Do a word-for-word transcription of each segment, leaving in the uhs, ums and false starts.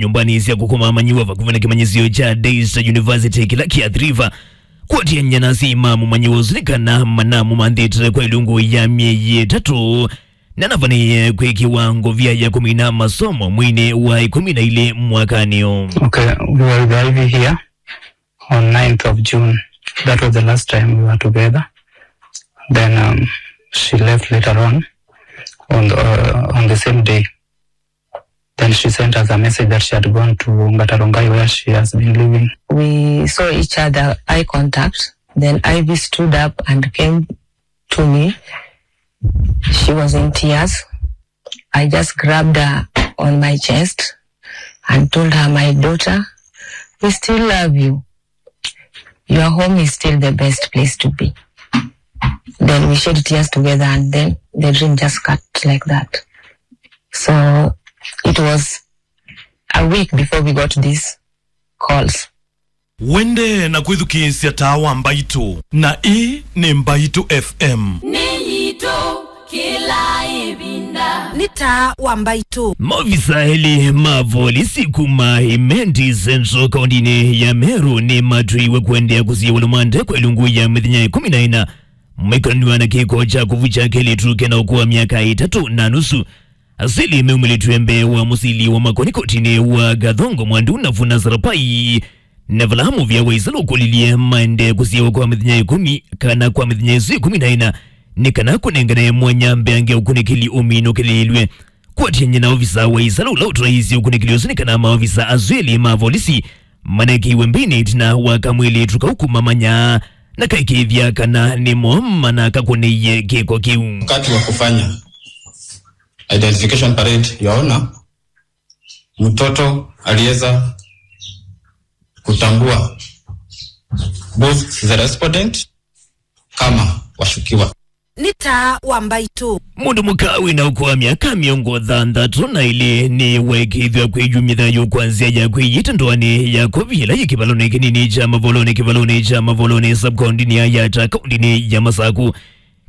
nyũmbanĩ sya kũkoma amanyĩw'a vakuvĩ na kĩmanyĩsyo kya Daystar University kĩla kĩ Athi River. Kũatĩanĩa na asyai ma mũmanyĩw'a ũsu nĩ kana manamũmanthĩte kwa ĩlungu ya myei ĩtatũ, na navaniie kwĩkĩwa ngovia ya kũmina masomo mweinĩ wa ĩkũmi na ilĩ mwakanĩ ũũ. Okay, we were with Ivy here on ninth of June. That was the last time we were together. Then um, she left later on on the, uh, on the same day. Then she sent us a message that she had gone to Ngatarongai, where she has been living. We saw each other, eye contact. Then Ivy stood up and came to me. She was in tears. I just grabbed her on my chest and told her, "My daughter, we still love you. Your home is still the best place to be." Then we shed tears together, and then the dream just cut like that. So it was a week before we got these calls. Wende na kwĩthukĩĩsya Taa wa Mbaitũ, na ĩĩ nĩ Mbaitũ F M. Nĩ yitũ kĩla ĩvinda. Nĩ Taa wa Mbaitũ. Maovisa elĩ ma volisi kuma Imenti Central kaũntĩnĩ ya Meru nĩmatw'ĩiwe kũendeea kũsiĩwa lũmande kwa ĩlungu ya mĩthenya ĩkũmi na ĩna, maikonanĩw'a na kĩko kya kũvukya kelĩtu kena ũkũũ wa myaka ĩtatũ na nusu. Asyai meumĩlĩtw'e mbee wa mũsili wa makoni kotinĩ wa Gathongo Mwandu na Vuna Sarapai, na vala mũvĩa wa ĩsalũ ũkũlilye maendee kũsiĩwa kwa mĩthenya ĩkũmi kana kwa mĩthenya ĩsu ĩkũmi na ĩna, nĩ kana kũnengane mwanya mbeange ũkunĩkĩli ũminũkĩlĩĩlw'e. Kũatĩanĩa na ovisa wa ĩsalũ ũla ũtwaĩĩsye ũkunĩkĩli ũsu nĩ kana maovisa asu elĩ ma volisi manekĩiwe mbĩnĩ ĩtina wa kamwĩlĩtu kau kũmamanya na kaikĩĩthya kana nĩmo manakakũnĩie kĩko kĩu. Wakati wa kufanya identification parade, yaona mtoto aliweza kutambua both the respondent kama washukiwa. Nĩ Taa wa Mbaitũ. Mũndũ mũka wĩna ũkũũ wa myaka mĩongo thanthatũ na ĩlĩ nĩwaĩkĩĩthw'a kwĩyumya thayũ kwa nzĩa ya kwĩyĩta ndoanĩ ya kovi ĩla yĩ kĩvalonĩ kĩnini kya Mavolonĩ, kĩvalonĩ kya Mavolonĩ, sub-kaũntĩnĩ ya Yatta, kaũntĩnĩ ya Masaku.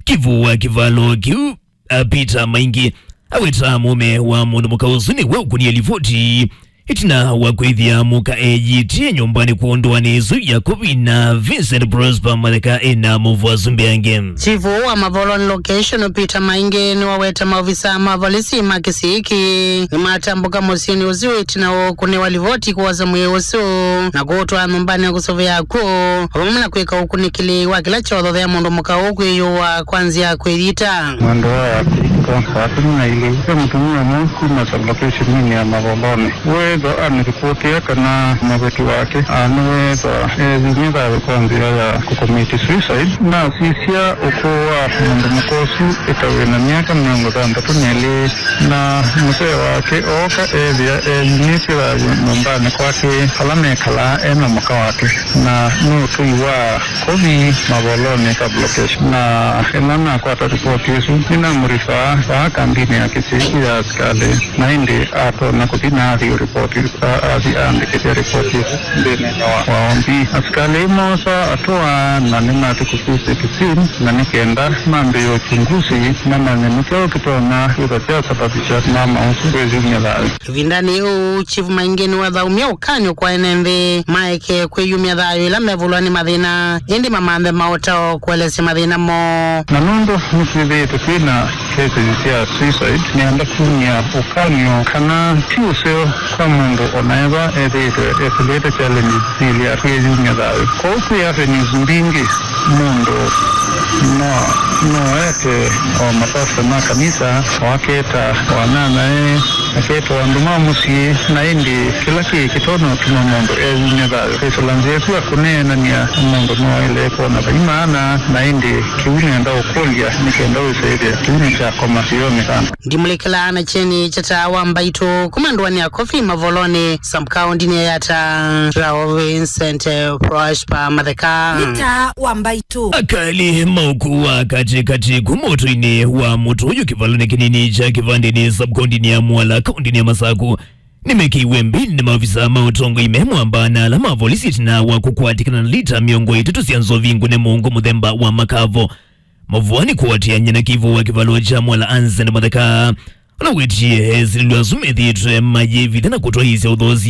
Kĩvũ wa kĩvalo kĩu, a, Peter Maingi, aweta mũũme wa mũndũ mũka ũsu nĩwe ũkũnie livoti ĩtina wa kwĩthĩa mũka eyĩtĩe nyũmbanĩ kwondũ wa nĩĩsu ya kovi na Vincent Prosper Matheka ena mũvwasu mbeange. Chief wa Mavolonĩ location Peter Maingi nĩwaweta maovisa ma volisi ma kĩsii kĩĩ nĩmatambũka mũsyĩnĩ ũsu ĩtina wa kũnĩwa livoti kwosa mwĩĩ ũsu na kũũtwaa nyũmbanĩ kũsũvĩa kw'o, vamwe na kwĩka ũkunĩkĩli wa kĩla kyothe ya mũndũ mũka ũũ kwĩyũa kwa nzĩa ya kwĩyita. Mwendwa wa Kristo, wa kũmi na ilĩ, ve mũtumĩa ũmwe kuma sub-location-inĩ ya Mavolonĩ weethwa anĩripotĩa kana mũveti wake nĩweethwa eyumya thayũ kwa nzĩa ya kũkomiti suicide. Nasisya ũkũũ wa mũndũ mũka ũsu ĩtavw'e na myaka mĩongo thanthatũ na ĩlĩ, na mũsee wake ooka eethĩa eyumĩtye thayũ nyũmbanĩ kwake vala mekalaa e na mũka wake, na nĩ ũtũi wa kovi Mavolonĩ sub-location. Na ĩla nakwata ripoti ĩsu, nĩnamũrifaa vaa kambinĩ ya kĩsisi ya asikalĩ, na ĩndĩ atonya kũthi na athi ripoti, a-, athi aandĩkĩthya ripoti ĩsu nthĩnĩ wa, wa O B. Asikalĩ moosa atũa na nĩmatũkũsisye kĩsini, na nĩ kenda mambĩĩe uchunguzi mamanye nĩ kyaũ kĩtonya kwĩthwa kyasababisha mama ũsu kwĩyumya thayũ. Ĩvindanĩ yĩu, Chief Maingi nĩwathaũmie ũkany'o kwa ene nthĩ maeke kwĩyumya thayũ ĩla mevulwa nĩ mathĩna, ĩndĩ mamanthe maũtao kũelesya mathĩna moo. Na nũndũ nĩtwĩthĩĩtwe twĩ na cases sya suicide, nĩenda kumya ũkany'o kana ti ũseo kwa mũndũ o na ethwa ethĩĩtwe ekũlĩte challenges syĩlĩ ya kwĩyumya thayũ. Kwoou kwĩ avenues mbingĩ mũndũ no, no ete o mapasta ma kanisa, o aketa o anyanyae, aketa o andũ ma mũsyĩ, na ĩndĩ kĩla kĩĩ kĩtonya ũtuma mũndũ eyumya thayũ. Kwĩsĩla nzĩa ĩsu ya kũneenany'a mũndũ no aĩle kwona vai maana, na ĩndĩ kĩu nĩenda ũkũlya nĩ kenda wĩsĩ ĩthĩa kĩu nĩkyakoma kĩonekana. Ndimũlĩkĩlaa na kyeni kya Taa wa Mbaitũ kuma ndũanĩ ya kovi Mavolonĩ, sub-kaũntĩnĩ ya Yatta, Rao Vincent, eh, Prosper Matheka. Nĩ Taa wa Mbaitũ. Akali ma ũkũũ wa katĩkatĩ kuma ũtũinĩ wa mũtũ ũyũ kĩvalonĩ kĩnini kya Kĩvandĩnĩ, sub-kaũntĩnĩ ya Mwala, kaũntĩnĩ ya Masaku, nĩmekĩiwe mbĩnĩ nĩ maovisa ma ũtongoi me mwamba na ala ma volisi ĩtina wa kũkwatĩkana na lita mĩongo ĩtatũ sya nzovi ngũne mũongo mũthemba wa makavo. Mavũanĩ kũatĩanĩa na kĩvũ wa kĩvalo kya Mwala Anson Matheka, Ũla wĩtie esilĩlwe asu methĩĩtwe mayĩvitha na kũtwaĩĩsya ũthoosi